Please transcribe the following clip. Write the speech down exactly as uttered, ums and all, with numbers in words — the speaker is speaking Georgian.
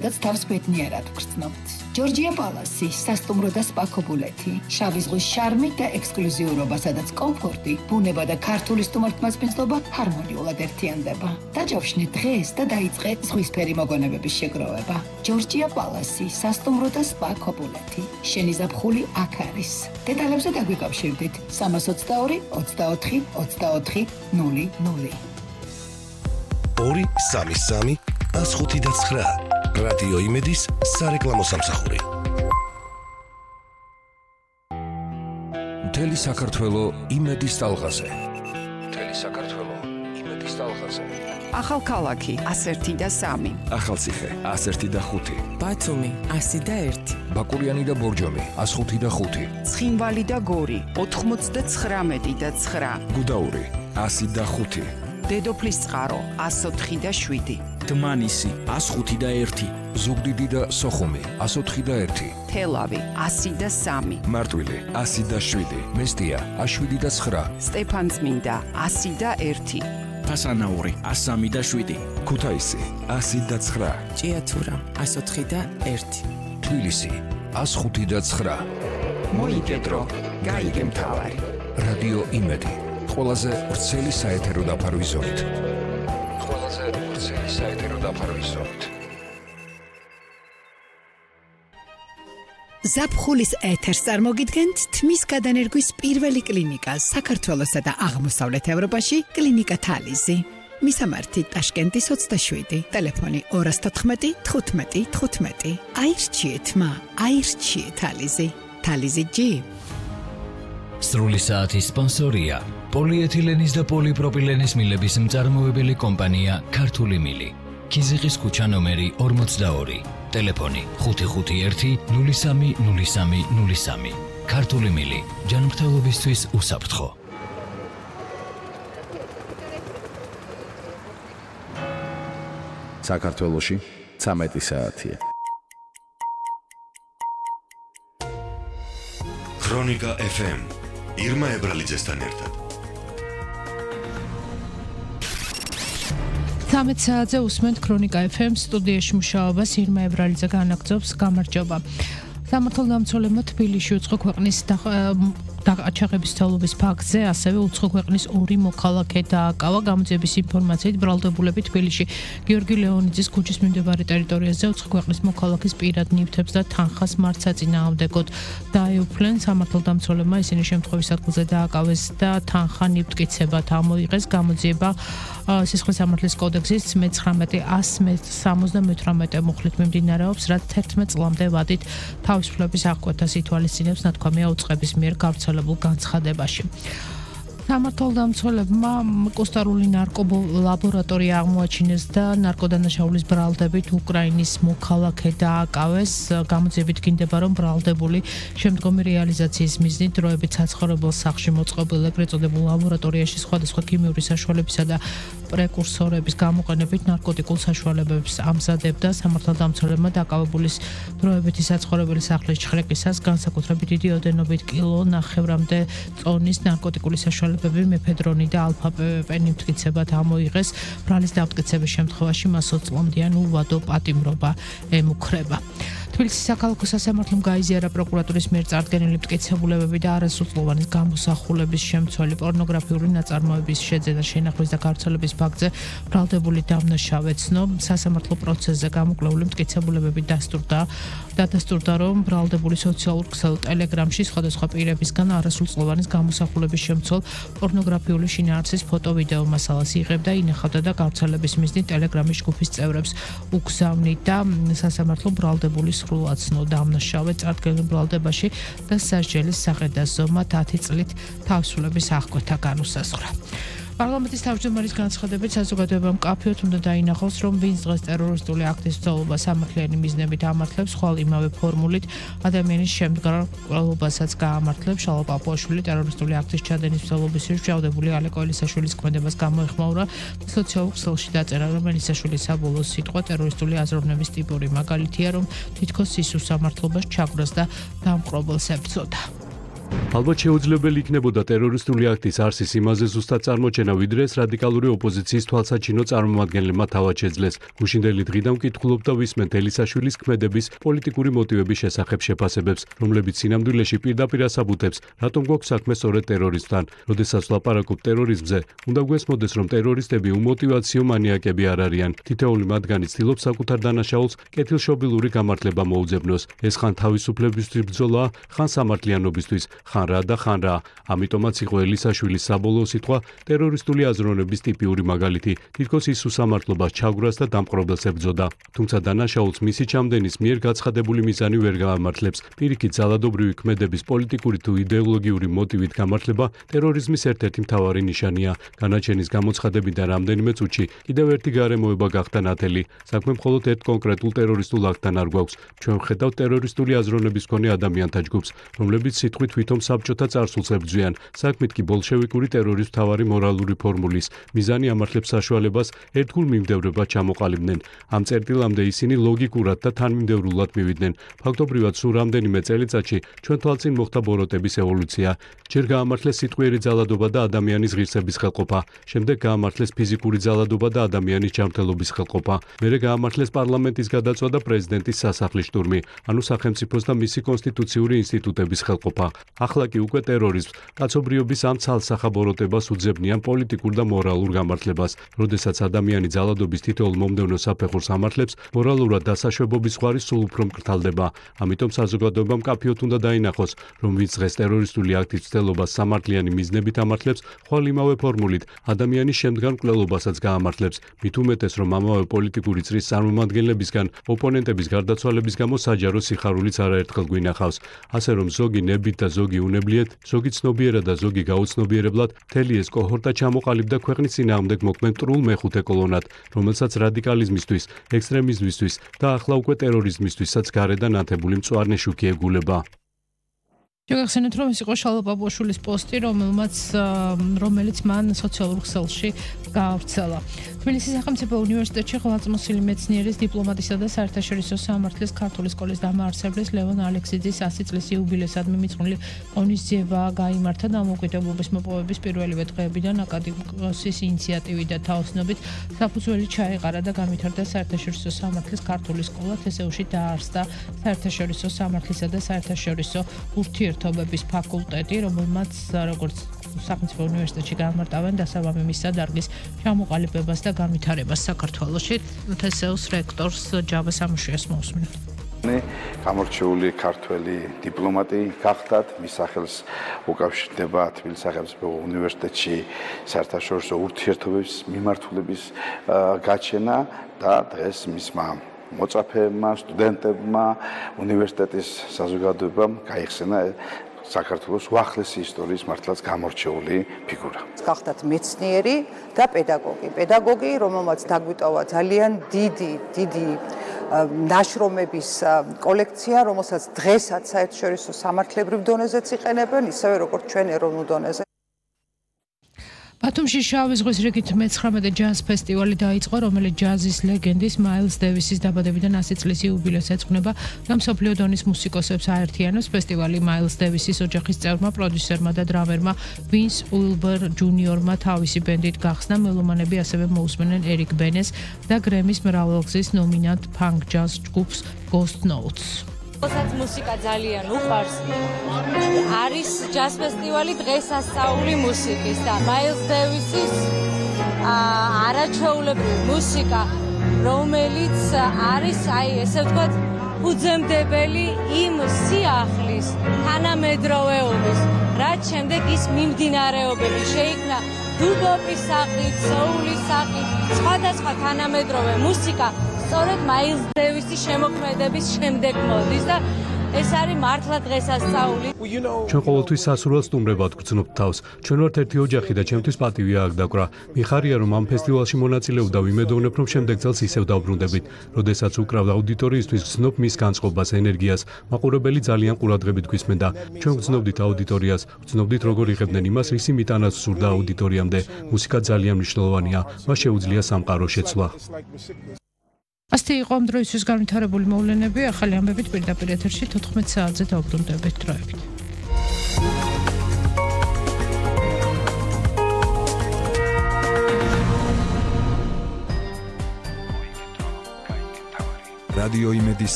რაც თავს ბედნიერად გრძნობთ. ჯორჯია პალასი, სასტუმრო და სპა ქობულეთი, შავი ზღვის შარმი და ექსკლუზიურობა, სადაც კომფორტი, ბუნება და ქართული სტუმართმასპინძლობა ჰარმონიულად ერთიანდება. დაჯავშნე დღეს და დაიწყე ზღვისფერი მოგონებების შეგროვება. ჯორჯია პალასი, სასტუმრო და სპა ქობულეთი. შენი ზაფხული აქ არის. დეტალებზე დაგვიკავშირდით სამას ოცდაორი ოცდაოთხი ოცდაოთხი ნული ნული. ორი სამი სამი ას ხუთი და ცხრა. რადიო იმედის სარეკლამო სამსახური. მთელი საქართველო იმედის ტალღაზე. მთელი საქართველო იმედის ტალღაზე. ახალქალაქი ას ერთი და სამი. ახალციხე ას ერთი და ხუთი. ბათუმი ასი და ერთი. ბაკურიანი და ბორჯომი ას ხუთი და ხუთი. ცხინვალი და გორი ოთხმოცდაცხრამეტი და ცხრა. გუდაური ასი და ხუთი. დედოფლის წყარო ას ოთხი და შვიდი. დმანისი ას ხუთი და ერთი. ზუგდიდი და სოხუმი ას ოთხი და ერთი. თელავი ასი და სამი. მარტვილი ასი და შვიდი. მესტია ას შვიდი და ცხრა. სტეფანწმინდა ასი და ერთი. ფასანაური ას სამი და შვიდი. ქუთაისი ასი და ცხრა. ჭიათურა ას ოთხი და ერთი. თბილისი ას ხუთი და ცხრა. მოიგედრო გაიგე მთავარი. რადიო იმედი ყველაზე ვრცელი საეთერო დაფარვის ზონით. ყველაზე ვრცელი საეთერო დაფარვის ზონით. ზაფხულის ეთერს წარმოგიდგენთ თმის გადანერგვის პირველი კლინიკა საქართველოსა და აღმოსავლეთ ევროპაში კლინიკა თალიზი. მისამართი ტაშკენტის ოცდაშვიდი, ტელეფონი ორას თოთხმეტი თხუთმეტი თხუთმეტი. აირჩიეთ მა, აირჩიეთ თალიზი. თალიზი ჯი. სრული საათის სპონსორია პოლიეთილენის და პოლიპროპილენის მილების მწარმოებელი კომპანია ქართული მილი. ქიზიყის ქუჩა ნომერი ორმოცდაორი. ტელეფონი ხუთი ხუთი ერთი ნული სამი ნული სამი ნული სამი. ქართული მილი ჯანმრთელობისთვის უსაფრთხო. საქართველოში ცამეტი საათია. ქრონიკა ეფ ემ ირმა ებრალიძესთან ერთად. ცამეტ საათზე უსმენთ ქრონიკა ეფ ემ სტუდიაში მუშაობას ირმა ებრალიძე განაგრძობს. გამარჯობა. სამართალდამცველებმა თბილისში უცხო ქვეყნის დაყაჩაღების თელობის ფაქტზე ასევე უცხო ქვეყნის ორი მოქალაქე დააკავა. გამოძიების ინფორმაციით ბრალდებულები თბილისში გიორგი ლეონიძის ქუჩის მიმდებარე ტერიტორიაზე უცხო ქვეყნის მოქალაქის პირად ნივთებს და თანხას მართსაწინააღმდეგოდ დაეუფლნენ. სამართალდამცველებმა ისინი შემთხვევის ადგილზე დააკავეს და თანხა ნივთკიცებად ამოიღეს. გამოძიება სისხლის სამართლის კოდექსის მეცხრამეტი ას სამოცდამეთვრამეტე მუხლით მიმდინარეობს, რაც თერთმეტ წლამდე ვადით თავისუფლების აღკვეთას ითვალისწინებს ნათქვამია უწყების მიერ გავრცელებულ განცხადებაში. სამართალდამცველებმა კოსტარული ნარკოლაბორატორია აღმოაჩინეს და ნარკოდანაშაულის ბრალდებით უკრაინის მოქალაქე დააკავეს. გამოძიებით გინდება, რომ ბრალდებული შემდგომი რეალიზაციის მიზნით დროებით საცხოვრებელ სახლში მოწყობილ ეგრეთ წოდებულ ლაბორატორიაში სხვადასხვა ქიმიური საშუალებისა და პრეკურსორების გამოყენებით ნარკოტიკულ საშუალებებს ამზადებდა. სამართალდამცველებმა დაკავებულის დროებითი საცხოვრებელი სახლის ჩხრეკისას განსაკუთრებით დიდი ოდენობით კილო ნახევრამდე წონის ნარკოტიკული საშუალებები მეფედრონი და ალფა-პე ნივთკიცებად ამოიღეს. ბრალის დამტკიცების შემთხვევაში მას ოც წლამდიან უვადო პატიმრობა ემუქრება. თბილისის საქალაქო სასამართლომ გაიზიარა პროკურატურის მიერ წარდგენილი მტკიცებულებები და არასრულწლოვანი გამოსახულების შემცველი პორნოგრაფიული ნაწარმოების შეძენა შენახვის და გავრცელების ფაქტზე ბრალდებული დამნაშავე ცნო. სასამართლო პროცესზე გამოკვლეული მტკიცებულებები დასტურდა დადასტურდა, რომ ბრალდებული სოციალურ ქსელ ტელეგრამში სხვადასხვა პირებისგან არასრულწლოვანი გამოსახულების შემცველ პორნოგრაფიული შინაარსის ფოტო-ვიდეო მასალას იღებდა, ინახავდა და გავრცელების მიზნით ტელეგრამის ჯგუფის წევრებს უგზავნიდა. სასამართლომ ბრალდებული სრულად ცნო დამნაშავე წარდგენილ ბრალდებაში და სასჯელის საყედას ზომად ათი წლით თავისუფლების აღკვეთა განუსაზღვრა. პარლამენტის თავმჯდომარის განცხადებით საზოგადოებამ მკაფიოდ უნდა დაინახოს, რომ ვინც დღეს ტერორისტული აქტის ცდელობა სამართლიანი მიზნებით ამართლებს, ხვალ იმავე ფორმულით ადამიანის შემდგარლობასაც გაამართლებს. შალვა პაპუაშვილი ტერორისტული აქტის ჩადენის ცდელობის შეჭადებული ალეკო ელისაშვილის ქმედებას გამოეხმაურა. სოციალურ ქსელში დაწერა, რომ ელისაშვილის საბოლოო სიტყვა ტერორისტული აზროვნების ტიპური მაგალითია, რომ თითქოს ის უსამართლობას ჩაგვრას და დამპყრობელს ებრძოდა. ალბათ შეუძლებელი იქნებოდა ტერორისტული აქტის არსის იმაზე ზუსტად წარმოჩენა, ვიდრე ეს რადიკალური ოპოზიციის თვალსაჩინო წარმომადგენლებმა თავად შეძლეს. გუშინდელი დღიდან ვკითხულობდა ვისმენთ ელისაშვილის ქმედების პოლიტიკური მოტივების შესახებ შეფასებებს, რომლებიც სინამდვილეში პირდაპირ ასაბუთებს, რატომ გვაქვს საქმე სწორედ ტერორისტთან. როდესაც ვლაპარაკობ ტერორიზმზე, უნდა გვესმოდეს, რომ ტერორისტები უმოტივაციო მანიაკები არ არიან. თითოეული მათგანი ცდილობს საკუთარ დანაშაულს კეთილშობილური გამართლება მოუძებნოს. ეს ხან თავისუფლებისთვის ბრძოლა, ხან სამართლიანობისთვის, ხან რა და ხან რა. ამიტომაც იყო ელისაშვილის საბოლოო სიტყვა ტერორისტული აზროვნების ტიპიური მაგალითი. თითქოს ის უსამართლობას ჩაგვრას და დამპყრობელს ებრძოდა. თუმცა დანაშაულს მისი ჩამდენის მიერ გაცხადებული მიზანი ვერ გაამართლებს. პირიქით, ძალადობრივი ქმედების პოლიტიკური თუ იდეოლოგიური მოტივით გამართლება ტერორიზმის ერთ-ერთი მთავარი ნიშანია. განაჩენის გამოცხადებიდან რამდენიმე წუთში კიდევ ერთი გარემოება გახდა ნათელი. საქმე მხოლოდ ერთ კონკრეტულ ტერორისტულ აქტთან არ გვაქვს. ჩვენ ვხედავთ ტერორისტული აზროვნების მქონე ადამიანთა ჯგუფს, რომლებიც სიტყვით თვითონ საბჭოთა წარსულს ებრძვიან. საქმით კი ბოლშევიკური ტერორის მთავარი მორალური ფორმულის მიზანი ამართლებს საშუალებას ერთგულ მიმდევრებად ჩამოყალიბდნენ. ამ წერტილამდე ისინი ლოგიკურად და თანმიმდევრულად მივიდნენ. ფაქტობრივად სულ რამდენიმე წელიწადში ჩვენ თვალწინ მოხდა ბოროტების ევოლუცია. ჯერ გაამართლეს სიტყვიერი ძალადობა და ადამიანის ღირსების ხელყოფა, შემდეგ გაამართლეს ფიზიკური ძალადობა და ადამიანის ჯანმრთელობის ხელყოფა, მერე გაამართლეს პარლამენტის გადაწვა და პრეზიდენტის სასახლის შტურმი, ანუ სახელმწიფოს და მისი კონსტიტუციური ინსტიტუტების ხელყოფა. ახლა კი უკვე ტერორიზმს, კაცობრიობის ამ ცალსახაბოროტებას უძებნიან პოლიტიკურ და მორალურ გამართლებას. როდესაც ადამიანი ძალადობის თითოეულ მომდევნო საფეხურს ამართლებს, მორალურად დასაშვებობის ზღვარი სულ უფრო მკრთალდება. ამიტომ საზოგადოებამ მკაფიოდ უნდა დაინახოს, რომ ვინც დღეს ტერორისტული აქტის მცდელობას სამართლიანი მიზნებით ამართლებს, ხვალ იმავე ფორმულით ადამიანის შემდგარ მკვლელობასაც გაამართლებს. მით უმეტეს, რომ ამავე პოლიტიკური წრის წარმომადგენლებისგან ოპონენტების გარდაცვალების გამო საჯარო სიხარულიც არაერთხელ გვინახავს. ასე რომ ზოგი ნებით და ზოგი უნებლიეთ, ზოგი ცნობიერად და ზოგი გაუცნობიერებლად მთელი ეს კოჰორტა ჩამოყალიბდა ქვეყნის წინააღმდეგ მოქმედ მტრულ მეხუთე კოლონად, რომელსაც რადიკალიზმისთვის, ექსტრემიზმისთვის და ახლა უკვე ტერორიზმისთვისაც გარედან ანთებული მწვანე შუქი ეგულება. შეგახსენეთ, რომ ეს იყო შალვა პაპუაშვილის პოსტი, რომელმაც რომელიც მან სოციალურ ქსელში გაავრცელა. თბილისის სახელმწიფო უნივერსიტეტში ხელმძღვანელი მეცნიერის დიპლომატისა და საერთაშორისო სამართლის ქართული სკოლის დამაარსებლის ლევონ ალექსიძის ასი წლის იუბილეისადმი მიძღვნილი ღონისძიება გაიმართა დამოუკიდებლობის მოპოვების პირველივე დღეებიდან აკადემიკოსის ინიციატივით და თაოსნობით საფუძველი ჩაეყარა და განვითარდა საერთაშორისო სამართლის ქართული სკოლა თესეუში დაარსდა საერთაშორისო სამართლისა და საერთაშორისო ურთიერთობების ფაკულტეტი, რომელმაც როგორც სახელმწიფო უნივერსიტეტში გამარტავენ დასაბამი მისცა დარგის ჩამოყალიბებას და განვითარებას საქართველოში. თესეუს რექტორს ჯავას ამუშიას მოусმინოთ. გამორჩეული ქართველი დიპლომატი გახდათ, მის სახელს უკავშირდება თბილისის სახელმწიფო უნივერსიტეტში საერთაშორისო ურთიერთობების მიმართულების გაჩენა და დღეს მისმა მოწაფეებმა, სტუდენტებმა, უნივერსიტეტის საზოგადოებამ გაიხსენა საქართველოს უახლესი ისტორიის მართლაც გამორჩეული ფიგურა. გახდათ მეცნიერი და პედაგოგი. პედაგოგი, რომელმაც დაგვიტოვა ძალიან დიდი, დიდი ნაშრომების კოლექცია, რომელსაც დღესაც საერთაშორისო სამართლებრივ დონეზეც იყენებენ, ისევე როგორც ჩვენ ეროვნულ დონეზე. ბათუმში შავი ზღვის რიგით მეცხრამეტე ჯაზ ფესტივალი დაიწყო, რომელიც ჯაზის ლეგენდის მაილს დევისის დაბადებიდან ასი წლის იუბილეს ეძღვნება და მსოფლიო დონის მუსიკოსებს აერთიანებს. ფესტივალი მაილს დევისის ოჯახის წევრმა, პროდიუსერმა და დრამერმა ვინს უილბერ ჯუნიორმა თავისი ბენდით გახსნა. მელომანები ასევე მოусმენენ ერიკ ბენეს და გრემის მრავალგზის ნომინანტ ფანკ ჯაზ ჯგუფს Ghost Notes. ოსაც მუსიკა ძალიან უყვარს. არის ჯაზ ფესტივალი დღესასწაული მუსიკის და მაილს დევისის არაჩვეულებრივი მუსიკა, რომელიც არის, აი, ესე ვთქვათ, უძემდებელი იმ სიახლის, თანამედროვეობის, რაც შემდეგ ის მიმდინარეობები შეიქმნა დუბოპის სახით, სოულის სახით, სხვადასხვა თანამედროვე მუსიკა სწორედ მაილს დევისის შემოქმედების შემდეგ მოდის და ეს არის მართლა დღესასწაული. ჩვენ ყოველთვის სასურველ სტუმრებად გვგრძნობთ თავს. ჩვენ ვართ ერთი ოჯახი და ჩემთვის პატივია აქ დაკვრა. მიხარია, რომ ამ ფესტივალში მონაწილეობდა, ვიმედოვნებ, რომ შემდეგ წელს ისევ დავბრუნდებით. როდესაც უკრავ აუდიტორიისთვის გრძნობ მის განწყობას, ენერგიას. მაყურებელი ძალიან ყურადღებით გვისმენდა. ჩვენ გრძნობდით აუდიტორიას, გრძნობდით როგორ იღებდნენ იმას, ისი მიტანაც სურდა აუდიტორიამდე. მუსიკა ძალიან მნიშვნელოვანია. მას შეუძლია სამყარო შეცვლა. ასეთი იყო ამ დროისთვის განვითარებული მოვლენები. ახალი ამბებით პირდაპირ ეთერში თოთხმეტ საათზე დავბრუნდებით დროებით. რადიო იმედის